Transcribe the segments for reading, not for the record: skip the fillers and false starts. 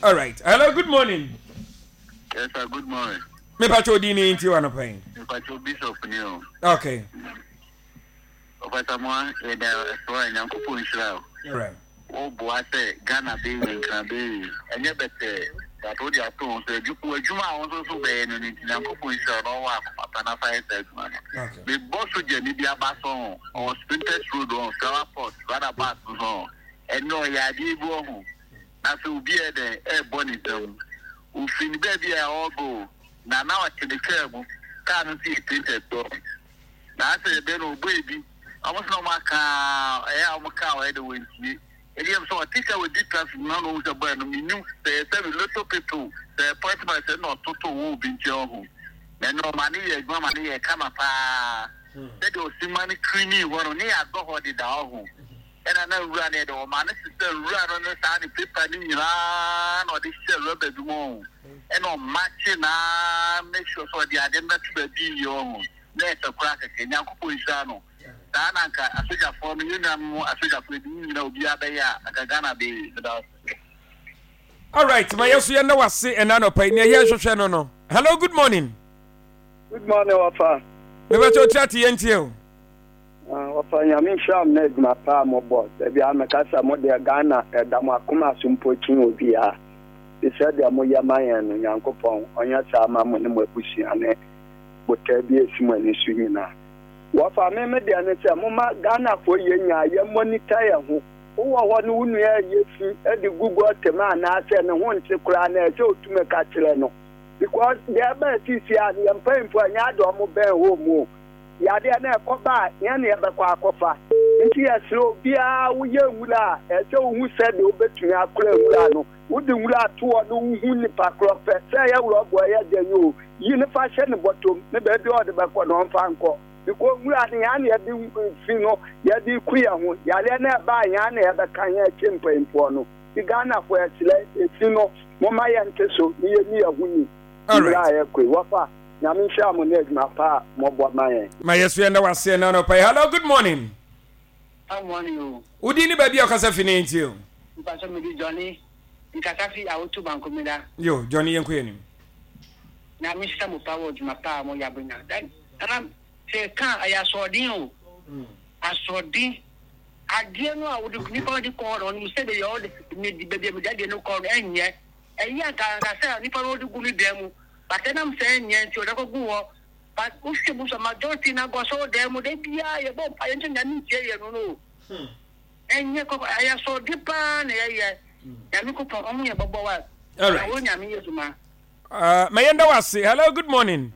All right. Hello, good morning. Yes, sir, good morning. Me pacho di ni nti wa no pɛn. Me pacho bishop ni o. Okay. Ɔfasa mo a yɛda so a Nyankopɔn nhyira o. Right. Wo boa sɛ Ghana bɛyɛ nkran bɛyɛ ɛnyɛ bɛtɛɛ but wo de ato ho so adwuma a wo nso so bɛyɛ no no nti Nyankopɔn nhyira wo na ɔwɔ akoma pa na fa yɛ saa adwuma no. Okay. Me bɔ sogyani bi aba so ho ɔwɔ Spintex road hɔ flower pot roundabout so ho ɛnɛ ɔyɛ adeɛ bi wɔ ho na sɛ obi yɛ dɛn ɛrebɔ ne nsam ofiri ne baabi a ɔrebɔ o na na ɔte ne kaa mu kaa no nso yɛ tinted dɔ na asɛ yɛbɛ no ɔbɔ ebi ɔmo sɛ na ɔmo aka ɛyɛ a ɔmo kaa ɔyɛ dɛ wɔntie ebi yɛm sɛ ɔte sɛ ɔdi traffic mu na ɔhu sɛ bɔyɛ no menim sɛ yɛ sɛ little people sɛ point man sɛ na ɔtoto wɔ obi nkyɛn ɔho na ɛno ɔma ne yɛ adwuma ma ne yɛ kama paa sɛdeɛ ɔsi ma no kirini hɔ no ne yɛ adɔ hɔ deda ɔho Ɛna na nwura no yɛ dɛ, ɔmaa no sesa nwura no ne saa ne paper no nyinaa na ɔde hyɛ rɔba bi mu ɔho. Ɛna ɔmakye na make sure sɛ ɔde ade no bɛto baabi yie ɔho. Na ɛfɛ koraa kɛkɛ. Nyankopɔn nhyira no. Saa na anka asogyafoɔ no, yɛn nuanom asogyafoɔ ebi nyina obiara bɛyɛ a, anka Ghana bɛyɛ yie. Meda wo ase. Alright, ma yɛ so yɛn na wase ɛna anɔpa yi nea yɛhwehwɛ no no. Hello, good morning. Good morning, Wafa. Mebɛkyɛ otia te yɛn tie o. Wɔfa Nyame nhyira mo na adwuma pa a mobɔ. Da biara meka sɛ mo deɛ Ghana ɛda mo akoma so mpo kyen obiara. Te sɛ deɛ moyɛ ma yɛn no Nyankopɔn ɔnyɛ saa ma mo ne mo abusua ne botae bi a ɛsi mo ani so nyinaa. Wɔfa me me deɛ ne sɛ momma Ghanafoɔ yɛ nyaa yɛ monitor yɛn ho. Wowɔ hɔ no wo nua ɛyɛ fi de gu gɔte mu anaasɛ ne ho nte koraa no ɛsɛ otumi ka kyerɛ no because deɛ ɛbaa seesei a no yɛn mpanyinfoɔ ɛnyɛ ade ɔmo bɛn home o. Yadeɛ no ɛkɔba a, yɛn na yɛbɛkɔ akɔfa. Nti yɛsrɛ obiara, woyɛ nwura a, ɛsɛ sɛ wohu sɛdeɛ wobɛtumi akora nwura no. Wode nwura to hɔ na wohu nipa korɔ pɛ, sɛ ɛyɛ rɔba o, ɛyɛ dɛn o, yi no fa hyɛ ne bɔtɔm na baabi a ɔde bɛkɔ no ɔmfa nkɔ. Because nwura no, yɛn na yɛde fi no, yɛde reku yɛn ho. Yareɛ no ɛba a, yɛn na yɛbɛka yɛn akyi mpanyinfoɔ no. Nti Ghanafoɔ yɛsrɛ, efi no, momma yɛnte so na yɛnni yɛn ho ni mmerɛ a yɛkɔ yi. Wɔfa. Nyame nhyira mo ne adwuma pa a mobɔ ma yɛn. Ma yɛ so yɛnda wase ɛna anɔpa yi. Hello, good morning. Good morning o. Wo din ne baabi a ɔkasa fi ne nti o. Mpatsɔ me di Johnny nkasa fi Awotu Bankomeda. Yo, Johnny yɛnkɔ yɛn anim. Nyame nhyira mo pa wɔ dwuma pa a mo yɛ abenya. Nana sɛ ka ɛyɛ asoɔden o. Asoɔden. Adeɛ no a wode nipa no de kɔ hɔ no ɔnim sɛ baabi a ɔde baabi a mede adeɛ no kɔ no ɛnyɛ. Ɛyɛ anka anka sɛ nipa no ɔde gu ne dan mu but ɛnam sɛ ɛnyɛ nti ɔde akɔgu hɔ but wohwɛ mu sɛ majority no agu asɔredan mu da biara yɛbɔ mpa yɛn nso Nyame ntie yɛn no no ɛnyɛ kɔkɔ ɛyɛ asɔredi paa na yɛyɛ Nyame kopɔn ɔho yɛ bɔbɔ wa na wo Nyame yɛ dwuma. Ma yɛnda wo ase. Hello, good morning.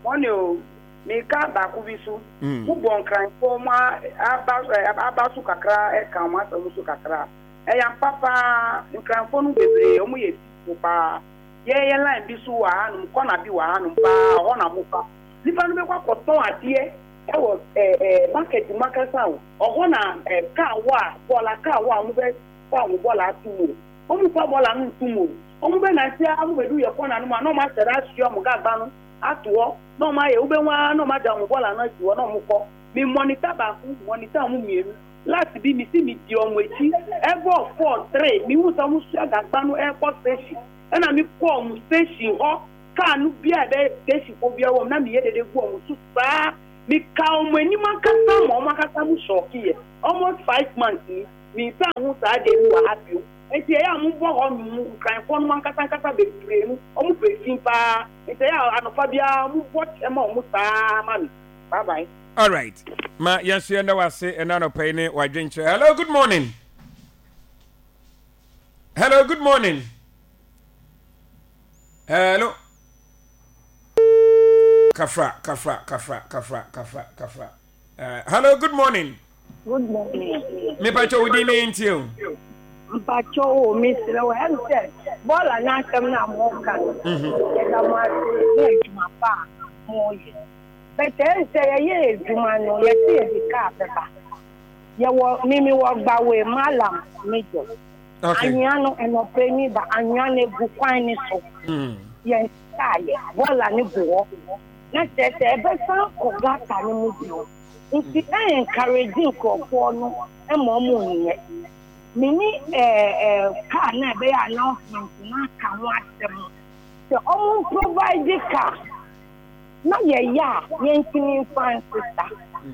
Morning o, meka baako bi so, mo bɔ nkranfoɔ mo aba aba so kakra ɛka wɔn asɛm so kakra. Ɛyɛ ampa paa, Nkranfoɔ no bebree ɔmo yɛ peaceful paa. Yɛn yɛ line bi so wɔ hanom, corner bi wɔ hanom paa, ɔhɔ na mo fa. Nipa no bɛkɔ akɔtɔn adeɛ ɛwɔ ɛɛ market mu ankasa o, ɔhɔ na ɛɛ car wɔ a, bɔɔla car wɔ a ɔmo bɛ fa ɔmo bɔɔla ato mu o. Ɔmo nfa bɔɔla no nto mu o, ɔmo bɛ nante ara ɔmo bɛdu yɛ corner no mu a na ɔmo ahyɛ da asoa ɔmo gagba no ato hɔ na ɔmo ayɛ, wobɛhu ara na ɔmo agya ɔmo bɔɔla no asi hɔ na ɔmo kɔ. Me monitor baako, monitor ɔmo mmienu. Last bi me si me di ɔmo akyi ɛbɔɔ 4, 3 me hu sɛ ɔmo sua gagba no ɛkɔ station ɛna me kɔ ɔmo station hɔ car no bia ɛbɛ station kɔ bia wɔm na me yɛ dede gu ɔmo so saa me ka ɔmo anim ankasa ma ɔmo ankasa mo shock yɛ almost 5 months ni me nsa ho saa deɛ no wɔ ha bio nti ɛyɛ a mo bɔ hɔ nom nkranfoɔ nom ankasa ankasa bebree no ɔmo pɛ fi paa nti ɛyɛ a anɔpa biara mo bɔ kyɛ ma ɔmo saa ma me bye bye. Alright ma yɛn nso yɛnda wase ɛna anɔpa yi ne wadwenkyerɛ. Hello, good morning. Hello, good morning. Hello. Kafra, kafra, kafra, kafra, kafra, kafra. Hello, good morning. Good morning. Me pacho wo din ne ntie o. Mpacho o me srɛ wo ɛm sɛ bɔɔla n'asɛm no a mo ka no. Mhm. Yɛda mo ase ne adwuma pa a mo yɛ. But ɛyɛ sɛ yɛyɛ adwuma no yɛse yɛde car bɛba. Yɛwɔ me mewɔ Gbawe Mallam Major. Okay. Anwea no ɛnɔpɛ ni ba anwea no egu kwan ne so. Yɛn kaa yɛ bɔɔla no gu hɔ. Na kyerɛ sɛ ɛbɛsan kɔ gutter no mu bio. Nti ɛ encourage nkurɔfoɔ no ma ɔmo nyɛ. Me ne ɛɛ car. a na ɛbɛyɛ announcement na aka ho asɛm sɛ ɔmo provide car na yɛyɛ a yɛntumi mfa nsesa.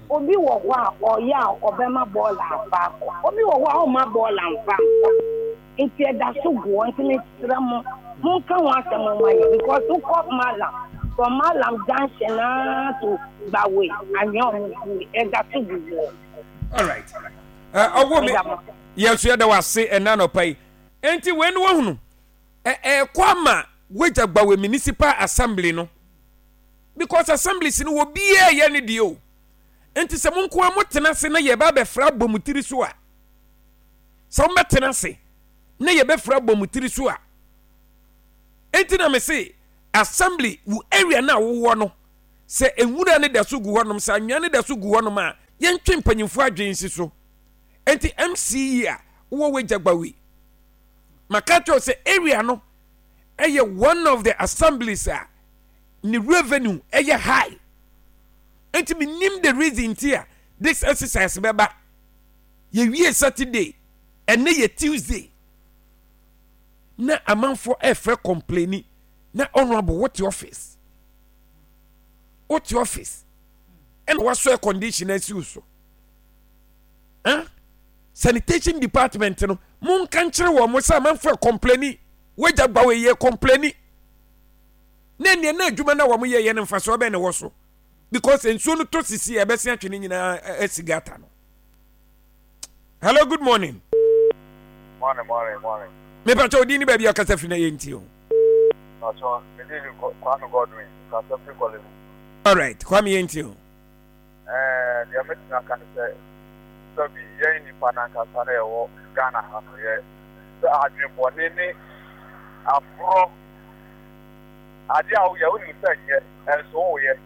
Obi wɔ hɔ a ɔyɛ a ɔbɛma bɔɔla afa akɔ. Obi wɔ hɔ a ɔmma bɔɔla mfa nkɔ. Nti ɛda so gu hɔ nti mesrɛ mo monka ho asɛm mma yɛn because wokɔ Mallam from Mallam junction naa to Gbawe anwea ɔmo gu ɛda so gu hɔ. Alright. Ɔwɔ me yɛn nso yɛda wase ɛna anɔpa yi. Enti wei no wahunu ɛɛkɔ ama wagya Gbawe Municipal Assembly no because assemblies no wɔ biara yɛ ne deɛ o. Enti sɛ mo nko ara motena ase na yɛba abɛfra abɔ mo tiri so a sɛ wɔbɛtena ase na yɛbɛfira abɔ mo tiri so a enti na mese assembly wo area no a wowɔ no sɛ nwura no da so gu hɔnom sɛ anwea no da so gu hɔnom a yɛntwe mpanyimfoɔ adwene nsi so enti mce a wowɔ wagya gbawe maka kyerɛw sɛ area no ɛyɛ one of the assemblies a ne revenue ɛyɛ high enti menim the reason nti a this exercise bɛba yɛwie Saturday, ɛnɛ yɛ Tuesday na amanfoɔ ɛfrɛ complaini na honorable wote office wote office ɛna wasɔ air condition asi wo so huh? Sanitation department no monka nkyerɛ wɔn mo sɛ amanfoɔ complaini wagya gba wɔ yɛ complaini na nea na adwuma na wɔn yɛ yɛ no mfasoɔ bɛn na ɛwɔ so because nsuo no tɔ sisi a ɛbɛsen atwe ne nyinaa asi gata no. Hello, good morning. Morning, morning, morning. Me pacho odi ni baabi akasa firi na yɛ nti o. Pacho, me di ni Kwame Godwin, kasa firi Korle Bu. All right, Kwame yɛ nti o. Ɛɛ, deɛ mɛtumi aka ne sɛ, sɛbi yɛn nipa nankasa na yɛwɔ Ghana ha no yɛ sɛ adwenbɔne ne aborɔ adeɛ a woyɛ wonim sɛ nyɛ ɛnso woyɛ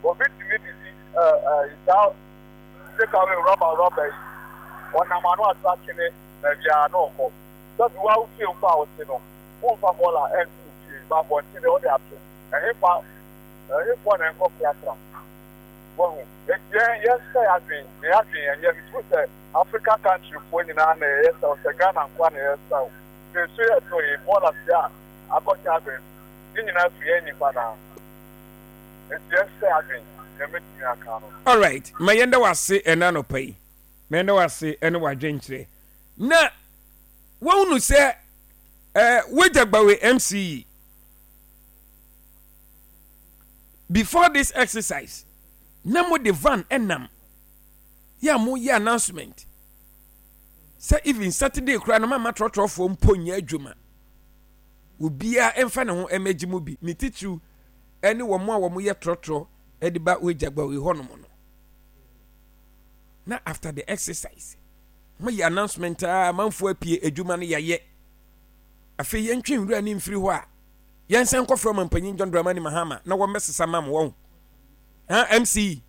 obi tumi de si ɛɛ ɛɛ saa Take away rɔba rɔba yi, ɔnam ano ato atwene baabiara na ɔkɔ. Sɛbi wo ara wo fie mpo a wote no, womfa bɔɔla nto wo fie, ba abɔnten deɛ wode ato. Ɛhefa, ɛhefoɔ na ɛnkɔ prapra? Wahu? Enti yɛn, yɛnsesa yɛn adwene, na yɛn adwene ɛnyɛ, metumi sɛ Africa country foɔ nyinaa na yɛyɛ saa o, sɛ Ghana nko ara na yɛyɛ saa o. Sɛ nsuo yɛ tɔ yi, bɔɔla fie a akɔhyɛ abɛn mu, ne nyinaa firi yɛn nnipa no ara. Enti yɛnsesa yɛn adwene, nea mɛtumi aka no. Alright, ma yɛnda wo ase ɛna anɔpa yi. Ma yɛnda wo ase ɛne w'adwenkyerɛ. Na woahunu sɛ eh, wagya gbawe MC yi. Before this exercise, na mo de van ɛnam yɛ a moyɛ announcement sɛ even Saturday koraa no mama trɔtrɔfoɔ mpo nyɛ adwuma. Obiara mfa ne ho mmɛgye mu bi, ne titiriw ne wɔn a wɔyɛ trɔtrɔ de ba Wejagbawe hɔnom no. Na after the exercise, moyɛ announcement a amanfoɔ apue adwuma no yɛayɛ. Afei yɛntwe nwura ne mfiri hɔ a yɛnsan nkɔfrɛ ɔmampanyin John Dramani Mahama na wɔmmɛsesa ma mo wɔn. Ha MC.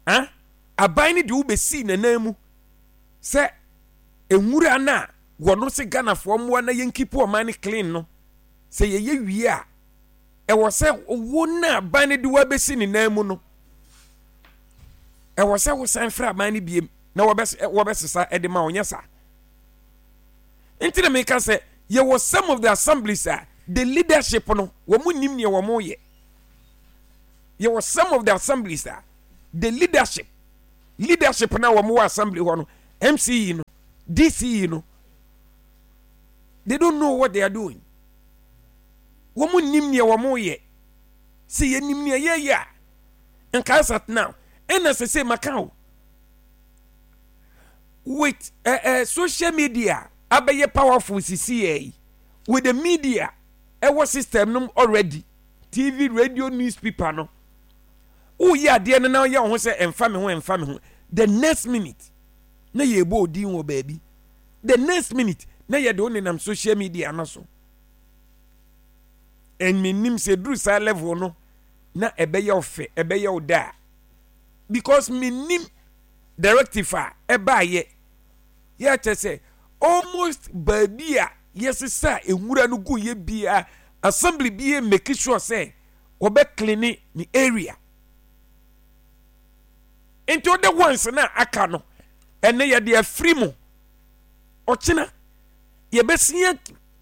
Ha aban no de wobɛsii n'anan mu sɛ nwura no a wɔno se Ghanafoɔ mmoa na yɛnkipu ɔman no clean no sɛ yɛyɛ wie a ɛwɔ sɛ wo na aban no de wo abɛsi ne nan mu no ɛwɔ sɛ wosan frɛ aban no biem na wɔbɛsesa de ma wo nyɛ saa nti na meka sɛ yɛwɔ some of the assemblies a the leadership no wɔn nim nea wɔn yɛ yɛwɔ some of the assemblies a the leadership leadership na wɔn wɔ assembly hɔ no mce no dce no they don't know what they are doing wɔn nim nea wɔn yɛ sɛ yɛnim nea yɛyɛ a nka as at now ɛna sɛ sɛ maka o with uh, uh, social media abɛyɛ powerful sisi yɛ yi with the media ɛwɔ system no already tv radio newspaper no woyɛ adeɛ no na ɔyɛ wo ho sɛ ɛmfa me ho ɛmfa me ho the next minute na yɛbɔ odin wɔ baabi the next minute na yɛde wo nenam social media no so and menim sɛ duru saa level no na ɛbɛyɛ wo fɛ ɛbɛyɛ wo da because menim directive a ɛbaayɛ yɛ kyɛ sɛ almost baabi a yɛsesa nwura no gu yɛ bia assembly bi yɛ make sure sɛ wɔbɛ clean ne area nti wode ones na aka no ɛnɛ yɛde afiri mu ɔkyena. Yɛbɛsia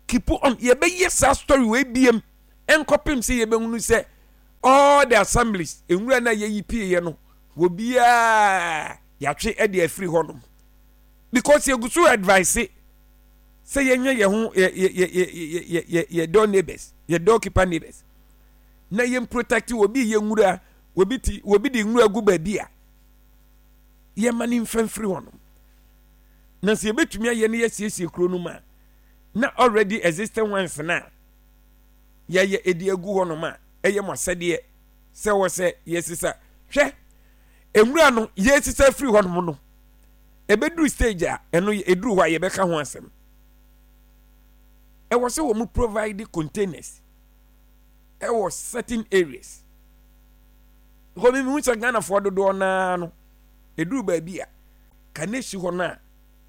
keep on, yɛbɛyɛ saa story wei biem nkɔpem sɛ yɛbɛhunu sɛ all the assemblies nwura no a yɛyi pieeɛ no obiara yɛatwe de afiri hɔnom because yɛgu so advice sɛ yɛnyɛ yɛn ho yɛ yɛ yɛ yɛ yɛ yɛ door neighbors yɛ doorkeeper neighbors na yɛn protect obi yɛ nwura obi ti obi de nwura gu baabi a yɛma ne mfa mfiri hɔnom na sɛ yɛbɛtumi ayɛ no yɛasiesie kuro no mu a na already existing ones no a yɛayɛ ɛdi agu hɔnom a ɛyɛ mo asɛdeɛ sɛ wɔ sɛ yɛsesa hwɛ nwura no yɛsesa firi hɔnom no ɛbɛduru stage a ɛno ɛduru hɔ a yɛbɛka ho asɛm ɛwɔ sɛ wɔn provide containers ɛwɔ certain areas because mi hu sɛ Ghanafoɔ dodoɔ naa no ɛduru baabi a kanesi hɔ no a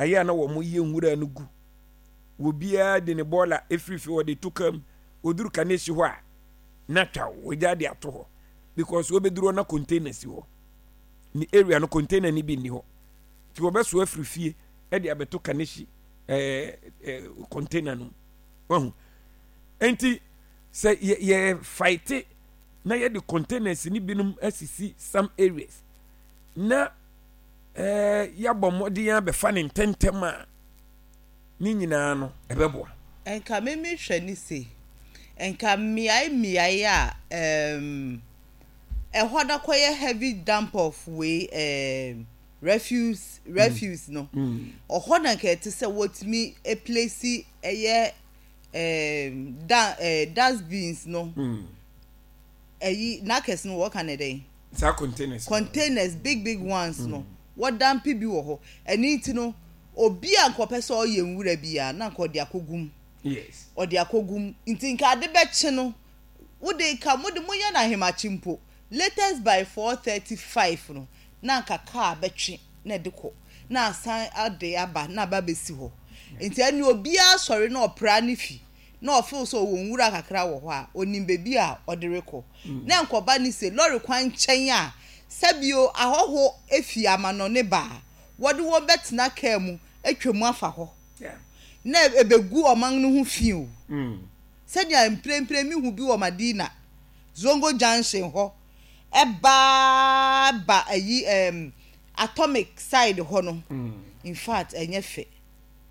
ɛyɛ a na wɔn yɛ nwura no gu obiara de ne bɔɔla efiri fi wɔde to kam oduru kanesi hɔ a na twa wɔgya de ato hɔ because wɔbɛduru hɔ na container si hɔ ne area no container no bi nni hɔ nti wɔbɛso afiri fie de abɛto kanehyi ɛɛ ɛɛ container no mu wahu nti sɛ yɛ yɛ fight na yɛde containers no binom asisi some areas na ɛɛ yɛabɔ mmɔden abɛfa ne ntɛntɛm a ne nyinaa no ɛbɛboa. Nka me me hwɛ ne se nka mmeae mmeae a ɛɛm. Ɛhɔ na kɔyɛ heavy dump of wei ɛɛm refuse refuse no. Ɔhɔ na nka ɛte sɛ wɔtumi place ɛyɛ ɛɛm da ɛɛ dustbins no. Ɛyi n'akɛse no wɔka ne dɛn? Saa containers. Containers big big ones no wɔdampe bi wɔ hɔ. Ɛno nti no obi a nka ɔpɛ sɛ ɔyɛ nwura biara na nka ɔde akɔgu mu. Yes. Ɔde akɔgu mu nti nka ade bɛkye no. Wo de nka mo de monyɛ no ahemakye mpo, latest by 4:35 no na anka car bɛtwe na ɛde kɔ na asan ade aba na aba abɛsi hɔ. Nti ɛnneɛ obiara sɔre na ɔpra ne fi na ɔfeel sɛ ɔwɔ nwura kakra wɔ hɔ a, ɔnim baabi a ɔde rekɔ. Na ɛnkɔba ne se lɔre kwan nkyɛn a sɛbio ahɔho fi amanɔne ba a, wɔde wɔn bɛtena car mu atwam afa hɔ na ɛbɛgu ɔman no ho fi o. Sɛnea mprempren mihu bi wɔ Madina, Zongo Junction hɔ ba ba ayi ɛɛm Atomic side hɔ no, in fact ɛnyɛ fɛ,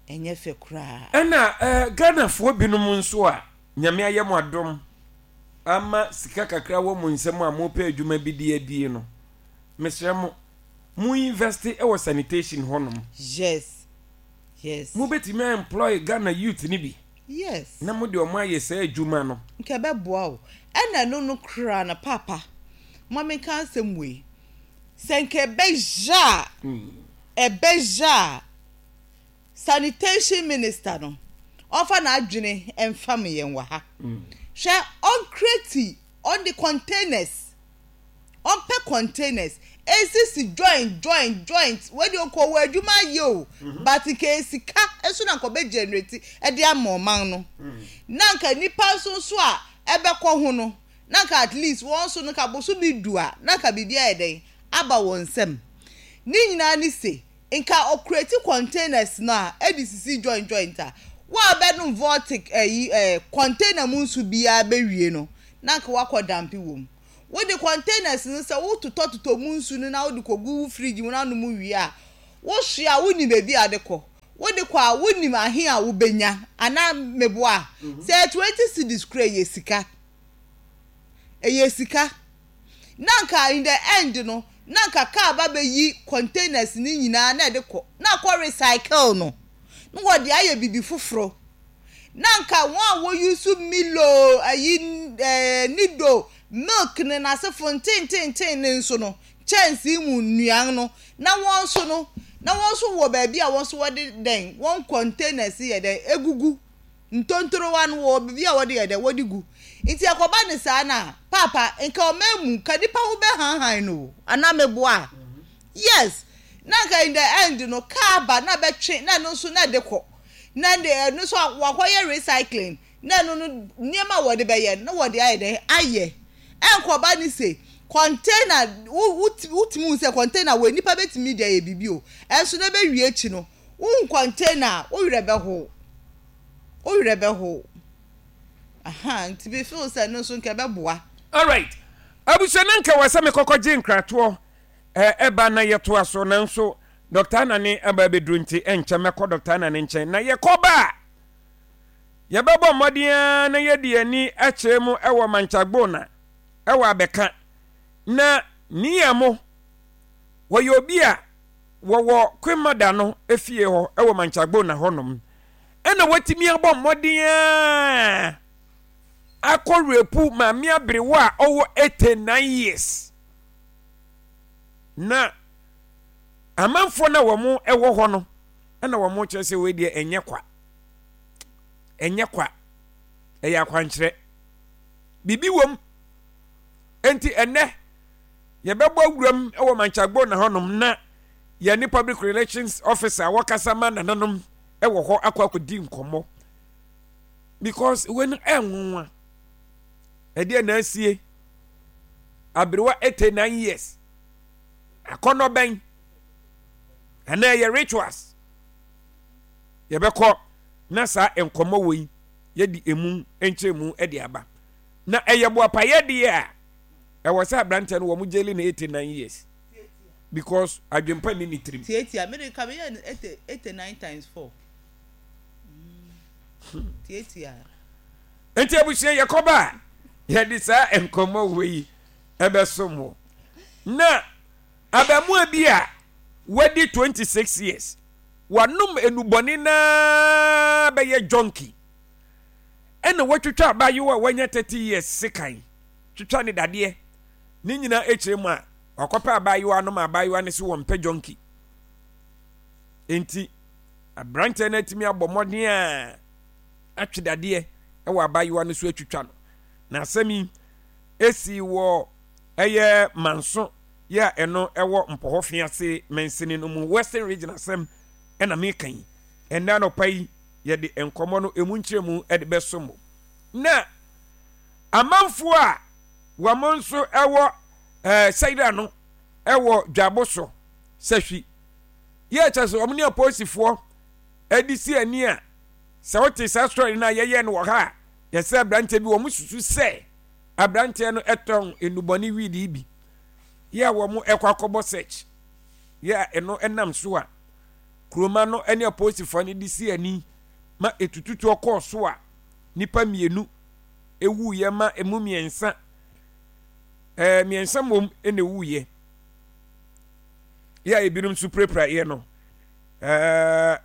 ɛnyɛ fɛ koraa. Ɛna eh, Ghanafoɔ binom nso a Nyame ayɛ mo adom ama sika kakra wɔ mo nsam a mopɛ adwuma bi de adie no, mesrɛ mo, mo invest wɔ sanitation hɔnom. Yes, yes. Mobɛtumi a employ Ghana youth no bi. Yes. Na mo de ɔmo ayɛ saa adwuma no. Nka ɛbɛboa wo. Ɛna ɛno no koraa no paapa ma menka asɛm wei. Sɛ nka ɛbɛyɛ a, ɛbɛyɛ a sanitation minister no ɔmfa n'adwene mfam yɛn wɔ ha. Hwɛ ɔnkreti ɔnde containers ɔmpɛ containers esisi joint joint joint wei deɛ ɔkɔ wɔ adwuma ayɛ o mhm. but nka esika nso na nka ɔbɛ generate ɛde ama ɔman no mm. na nka nipa nso nso a ɛbɛkɔ ho no na nka at least wɔn nso no nka boso bi du a na nka biribi ayɛ dɛn aba wɔn nsam ne nyinaa ne se nka ɔkureti containers no a ɛde sisi joint joint a wɔn a bɛnom vortic ɛyi ɛɛ container mu nso biara bɛwie no na nka wakɔ dampe wɔ mu. Wode containers no sɛ wototɔtotɔ mu nsu no na wode kɔgu wo fridge mu na wonom wie a, wosoa a wonnim baabi a wode kɔ. Wode kɔ a wonnim ahe a wobɛnya anaa meboa? Sɛ ɛyɛ 20 cedis koraa ɛyɛ sika. Ɛyɛ sika. Na anka in the end no, na anka car ba bɛyi containers no nyinaa na ɛde kɔ na akɔ recycle no na wɔde ayɛ biribi foforɔ. Na anka wɔn a wɔ use Milo, ayi ɛɛ Nido, milk ne n'asefo ntententen ne nso no, kyɛnsee mu nnuan no, na wɔn nso no, na wɔn nso wɔ baabi a wɔn nso wɔde dɛn, wɔn containers yɛ dɛn, egugu. Ntontorowa no wɔ baabi a wɔde yɛ dɛn, wɔde gu. Nti ɛkɔba ne saa no a, paapa, nka ɔman mu, nka nipa ho bɛhanhan no o, anaa meboa? Yes! Na anka in the end no, car ba na bɛtwe na ɛno nso na ɛde kɔ. Na ɛnde ɛno nso wakɔyɛ recycling na ɛno no nneɛma a wɔde bɛyɛ no na wɔde ayɛ dɛn ayɛ. Ɛnkɔba ne se container wo wotumi hu sɛ container wɔ nipa bɛtumi de ayɛ biribi o. Ɛnso na ɛbɛwie akyi no, wohu container a wo werɛ bɛhow. Wo werɛ bɛhow. Ahaa, nti me feel sɛ ɛno nso nka ɛbɛboa. Alright, abusua na nka wɔ sɛ mekɔkɔ gye nkratoɔ ɛba na yɛtoa so nanso Doctor Anane aba abɛduru nti ɛnkyɛ mɛkɔ Doctor Anane nkyɛn na yɛkɔ ba a yɛbɛbɔ mmɔden ara na yɛde yɛn ani akyerɛ mu ɛwɔ Manchagbona ɛwɔ abɛka na Niyamo wɔyɛ obi a wɔwɔ Kwemada no efie hɔ ɛwɔ Manchagbona hɔnom ɛna watumi abɔ mmɔden ara akɔ repu maame aberewa a ɔwɔ 89 years na amanfoɔ no a wɔn ɛwɔ hɔ no ɛna wɔn kyerɛ sɛ wei deɛ ɛnyɛ kwa ɛnyɛ kwa ɛyɛ akwankyerɛ biribi wɔm nti ɛnɛ yɛbɛbɔ awuram wɔ mankyagbo na hɔnom na yɛne public relations officer a wɔkasa ma nananom wɔ hɔ akɔ akɔdi nkɔmmɔ because wei no ɛnwanwa ɛdeɛ na asie aberewa 89 years akɔnɔ bɛn anaa ɛyɛ rituals yɛbɛkɔ na saa nkɔmmɔ wɔ yi yɛde emu nkyerɛmu de aba na ɛyɛ boapayɛ deɛ a ɛwɔ sɛ aberanteɛ no wɔn gyeli no 89 years because adwempa nni ne tirim. Tiatia, me de ka meyɛ no 89 times 4. Hmm. Tiatia. Nti abusua yɛkɔba a yɛde saa nkɔmmɔ wɔ yi ɛbɛsom wo. Na abaamua bi a wadi 26 years wanom enubɔne naa bɛyɛ junkie ɛna watwitwa abaayewa a wanya 30 years sekan twitwa ne dadeɛ ne nyinaa akyire mu a wakɔpɛ abaayewa no ma abaayewa no se wɔmpɛ junkie enti aberanteɛ no atumi abɔ mmɔden a atwe dadeɛ wɔ abaayewa no so atwitwa no na asɛm yi esi wɔ ɛyɛ manso yɛ a ɛno ɛwɔ mpɔhɔ fease mansini no mu western region asɛm ɛna meka yi ɛnna anɔpa yi yɛde nkɔmmɔ no emu nkyerɛmu ɛde bɛso mo na amanfoɔ a wɔn nso ɛwɔ ɛɛ sɛyira no ɛwɔ dwabo so sɛhwi yɛ kyɛ sɛ wɔn ne apolisifoɔ ɛde si ani a sɛ wote saa story no a yɛyɛ no wɔ ha a yɛsɛ aberanteɛ bi wɔn susu sɛ aberanteɛ no ɛtɔn nnubɔne weed bi yɛ a wɔn ɛkɔ akɔbɔ search yɛ a ɛno ɛnam so a kuroma no ɛne apolisifoɔ no de si ani ma etututuo kɔɔ so a nipa mmienu ewuiɛ ma emu mmiɛnsa ɛɛ mmiɛnsa mmom na ewuiɛ yɛ a ebinom nso pirapiraeɛ no ɛɛ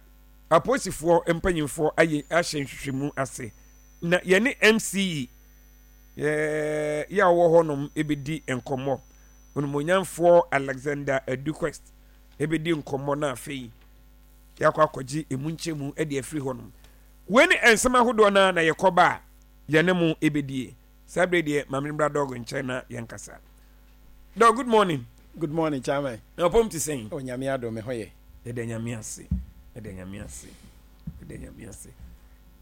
apolisifoɔ mpanyinfoɔ ayɛ ahyɛ nhwehwɛmu ase na yɛne MCE yɛ yɛ a ɔwɔ hɔnom ebedi nkɔmmɔ onimonyamfoɔ Alexander Aduquest ebedi nkɔmmɔ na afei yɛakɔ akɔgye emu nkyɛmu de afiri hɔnom wei ne nsɛm ahodoɔ no na yɛkɔba a yɛne mo ebedie saa bere deɛ maame mbra dɔg nkyɛn na yɛnkasa dɔg good morning. Good morning chairman. Na ɔpɔm te sɛn? O nyame adom me ho yɛ. Yɛda nyame ase. Yɛda nyame ase. Yɛda nyame ase.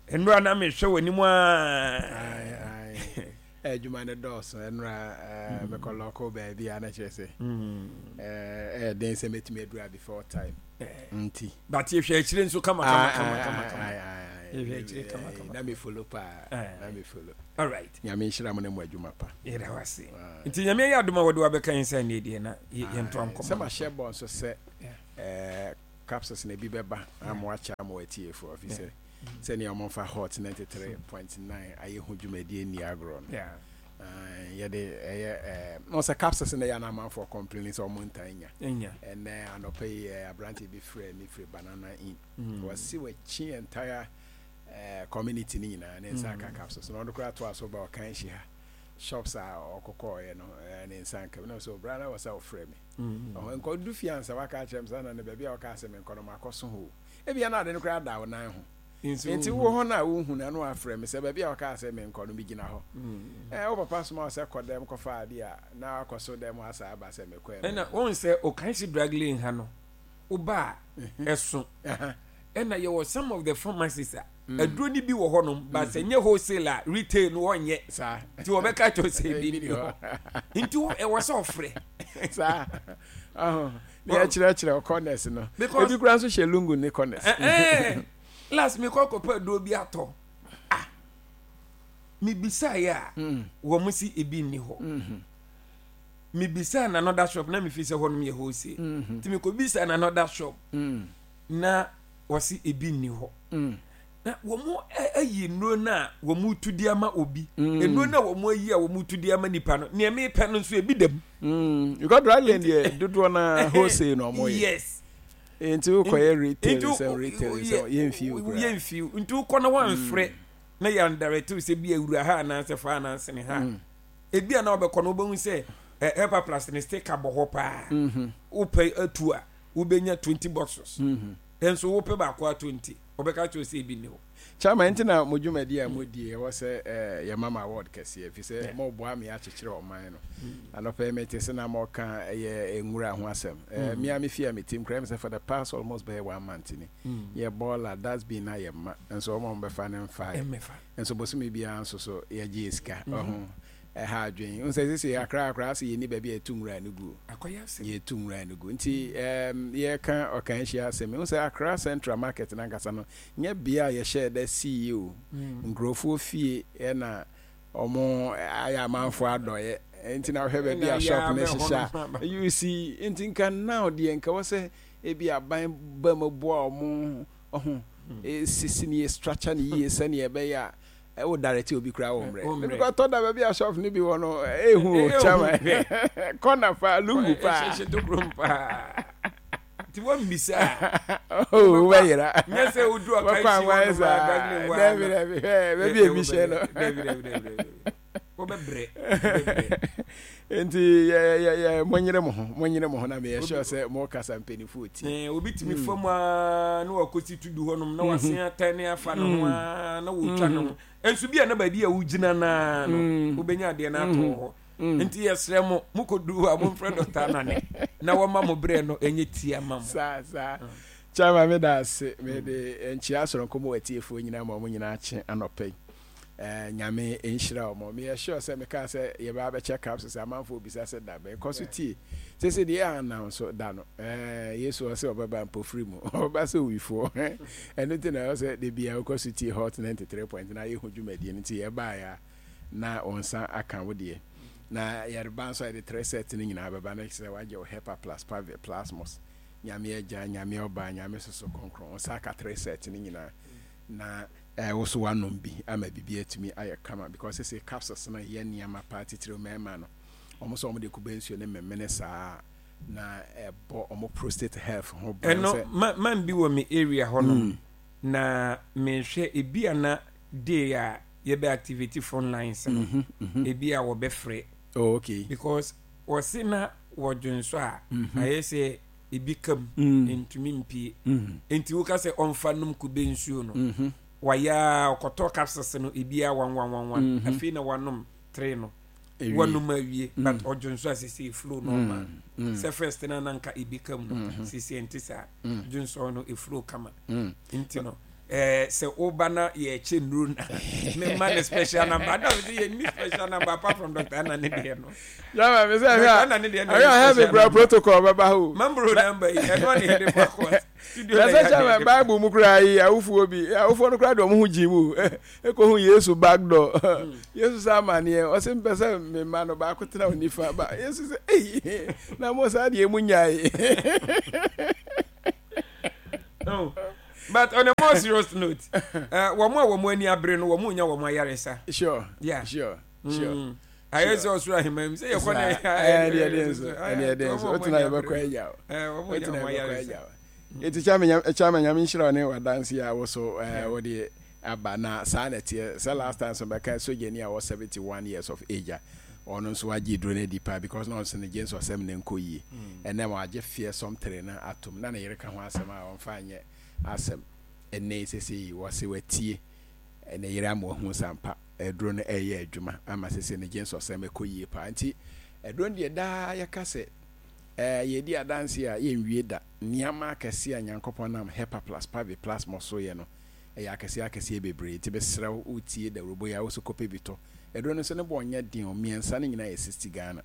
Nnora na mehwɛ w'anim aa. Adwuma no dɔɔso nnora mekɔ lɔko baabi a na kyerɛ sɛ ɛyɛ den sɛ mɛtumi adura before time nti. But yɛhwɛ akyire nso kama kama kama kama kama. Yɛhwɛ akyire kama kama. Na me follow paa. Na me follow. All right. Nyame nhyira mo ne mo adwuma pa. Yɛda wo ase. Nti Nyame ayɛ adom a wɔde wabɛka yɛn sɛ ɛnɛ deɛ na yɛntoa nkɔmmɔ. Sɛ mahyɛ bɔ nso sɛ capsules na ebi bɛba ama wakyɛ ama watiefoɔ fi sɛ sɛnea wɔmfa hot 93.9 ayɛ ho dwumadie nni agorɔ no yɛde ɛyɛ na sɛ capsules na yɛ na amanfoɔ complain sɛ wɔn ntaa nya ɛnɛ anɔpa yi aberante bi frɛ me firi banana inn wɔsi wɔakyi entire community no nyinaa ne nsa aka capsules na ɔno koraa toa so ba ɔkan hyi ha shops a ɔkɔkɔɔyɛ no ne nsa nka mu na sɛ ɔbra na wɔ sɛ ɔfrɛ me ɔhɔ nkɔdu fie ansa waka akyerɛ me sɛ na ne baabi a ɔka sɛ menkɔ no makɔ so hɔ ebia na ade no koraa da wo nan ho nti wo hɔ no a wohu no ano afrɛ me sɛ baabi a ɔka sɛ menkɔ no megyina hɔ ɛɛ wo papa soma wo sɛ kɔ dɛm kɔfa ade a na wakɔ so dɛm asa aba sɛ mekɔ ɛna wɔn sɛ ɔkan drug lane ha no woba a ɛso ɛna yɛwɔ some of the pharmacies a aduro no bi wɔ hɔnom but sɛ nyɛ wholesale a retail no wɔnyɛ nti wɔbɛka kyerɛ sɛ ebi ni hɔ nti ɛwɔ sɛ ɔfrɛ saa ne yɛkyerɛkyerɛ corners no ebi kura nso hyɛ lungu ne corners last mi kɔ kɔpɛ aduro bi atɔ. Mebisaeɛ a, wɔn se ebi nni hɔ. Mebisaa n'another shop na mefi sɛ hɔnom yɛ wholesale. Nti mekɔbisaa n'another shop na wɔse ebi nni hɔ. Na wɔn ayi nnuro no a wɔn tu de ama obi. Nnuro no a wɔn ayi a wɔn tu de ama nipa no, nea mepɛ no nso ebi da mu. Because dry lane deɛ dodoɔ na wholesale na wɔn yɛ. Yes. Nti wokɔyɛ retail sɛ retail sɛ yɛmfi wo koraa. Yɛmfi wo. Nti wokɔ na wɔamfrɛ na yɛandirect wo sɛ bi awura ha anaasɛ fa anaasɛ ne ha. Ebi a na wobɛkɔ no wobɛhu sɛ Hepa Plus ne sticker bɔ hɔ paa. Wopɛ atu a wobɛnya 20 boxes. Nso wopɛ baako ato nti wɔbɛka kyerɛ sɛ ebi nni hɔ. Chairman, nti na mo dwumadi a modie ɛwɔ sɛ yɛma mo award kɛseɛ ɛfiri sɛ moboa me akyekyere ɔman no. Anɔpa yi mete sɛ na moka ɛyɛ nwura ho asɛm. Me ara me fie a mete mu koraa ɛyɛ me sɛ for the past almost bɛyɛ one month ni yɛ bɔɔla, dustbin no ayɛ ma nso wɔn a wɔbɛfa no mfaeɛ. Nso bosome biara nso so yɛgye yɛ sika. Wahu? Ɛha adwene. Wohu sɛ seesei Accra koraa asɛ yɛnni baabi a yɛto nwura no gu. Yɛto nwura no gu. Nti ɛɛm yɛreka Ɔkanhyia asɛm yi, wohu sɛ Accra Central Market no ankasa no, nyɛ bea a yɛhyɛɛ da sii o. Nkurɔfoɔ fie na wɔn ayɛ amanfoɔ adɔeɛ. Nti na wohwɛ baabi a shop no hyehyɛ a, you see. Nti nka now deɛ nka ɛwɔ sɛ ebi aban ba mu boa wɔn, wahu, sisi no yie, structure no yie sɛdeɛ ɛbɛyɛ a Wo direct obi koraa wɔ mmerɛ. Wo mmerɛ. Because tɔ da baabi a shop no bi wɔ no ehu o chairman. Corner paa lungu paa. Ɛhyɛ tokurom paa. Nti wɔn mbisa. Oh wobɛyera. Nyɛ sɛ wodu ɔka nsi hɔ nom a daglin wa. Dabi dabi hwɛ baabi ebi hyɛ no. Dabi dabi dabi dabi. Wobɛbrɛ wobɛbrɛ. Nti yɛ yɛ yɛ monyere mo ho monyere mo ho na meyɛ sure sɛ mo kasa mpanyinfoɔ tie. Ɛɛ obi tumi fa mu aa na wakɔsi tudu hɔnom na wasen atɛn ne afa ne ho aa na wɔtwa ne ho. Nso bi a na baabi a wogyina naa no wobɛnya adeɛ no ato wɔ hɔ. Nti yɛsrɛ mo mokɔduru hɔ a momfrɛ Dɔkta Anane na wɔma mo berɛ no ɛnyɛ tia ma mo. Saa saa. Chairman meda ase mede nkyea soronko ma w'atiefoɔ nyinaa ma wɔn nyinaa kye anɔpa yi. Eh, Nyame nhyira wɔn. Meyɛ sure sɛ mekaa sɛ yɛbɛ abɛkyɛ capsules amanfoɔ bisa sɛ da bɛn. Kɔ so tie. Sese deɛ yɛ announce da no. Eh, Yesu ɔsɛ ɔbɛba mpofiri mu. Ɔbɛba sɛ owifoɔ. Ɛno nti na ɛwɔ sɛ da biara wokɔ so tie Hot 93.9 yɛhu dwumadie no nti yɛbaeɛ a na wo nsa aka wo deɛ. Na yɛreba nso a yɛde tre set no nyinaa bɛba na kyerɛ sɛ wagye wo Hepa plus Pavi Plasmos. Nyame Agya, Nyame Ɔba, Nyame Soso Kronkron. Wo nsa aka tre set no nyinaa. Na Eh wo so wanom bi ama biribi atumi ayɛ kama because sese capsules no yɛ nneɛma paa titiriw mmarima no wɔn sɛ wɔn de kube nsuo ne memene saa na ɛbɔ wɔn prostate health ho ban Ɛno sɛ. ma man bi wɔ me area hɔ nom na mehwɛ ebi a na day a yɛbɛ activate phone lines no ebi a wɔbɛ frɛ. Oh okay. Because wɔse na wɔdwonsɔ a ayɛ sɛ ebi ka mu ntumi mpie nti woka sɛ ɔmfa nom kube nsuo no wayɛ a ɔkɔtɔ capsules no ebi a one one one one afei na wanom three no wanom awie but ɔdwo nso a sese flow normal sɛ first na na nka ebi ka mu no sese nte saa dwonsɔ no eflow kama nti no ɛɛ sɛ woba na yɛkyɛ nnuro na mema ne special number ada mi sɛ yɛnni special number apart from Dr. Anna ne deɛ no. Yàrá mi sɛ ɛhwɛ a ɛhwɛ a heavy kura protocol bɛba hɔ. Mambro number yi ɛno ne yɛde kɔ court. Studio na sɛ kyɛ Bible mu kura yi awofoɔ bi awofoɔ no kura de wɔn ho gyi mu ekɔ hu Yesu back door Yesu sɛ amaneɛ ɔsɛ mpɛ sɛ me mma no baako tena wo nifa ba Yesu sɛ eyi na mo saa deɛ mu nyae. Oh. But on a more serious note, wɔn a wɔn ani abere no wɔn nya wɔn ayaresa. Sure. Yeah. Sure. Sure. Ayɛ sɛ ɔsoro ahemman mu sɛ yɛkɔ na ɛne ɛde nso ɛne ɛde nso wotena yɛbɛkɔ agya o wotena yɛbɛkɔ agya o eti kyame nyame nhyira ne wadanse a woso wode aba na saa na ɛteɛ sɛ last time so bɛka sogyani a wɔ 71 years of age a ɔno nso wagye duro no adi paa because na ɔnso ne gye nso ɔsɛm ne nkɔ yie ɛnɛ wagye feɛ sɔmtere no atom na ne yere ka ho asɛm a ɔmfa nyɛ asɛm ɛnɛ sese yi wɔse watie ne yere ama wahu sampa aduro no reyɛ adwuma ama sese ne gyensɔsɛm ɛkɔ yie paa nti aduro no deɛ daa yɛka sɛ ɛɛ yɛdi adanse a yɛnwie da nneɛma akɛseɛ a Nyankopɔn nam Hepa plus Pavi plus mo so yɛ no ɛyɛ akɛseɛ akɛseɛ bebree nti mesrɛ wo wotie dawurubɔ yi a wo so kɔpɛ bi tɔ aduro no nso ne boɔ nyɛ den o mmiɛnsa no nyinaa yɛ 60 Ghana.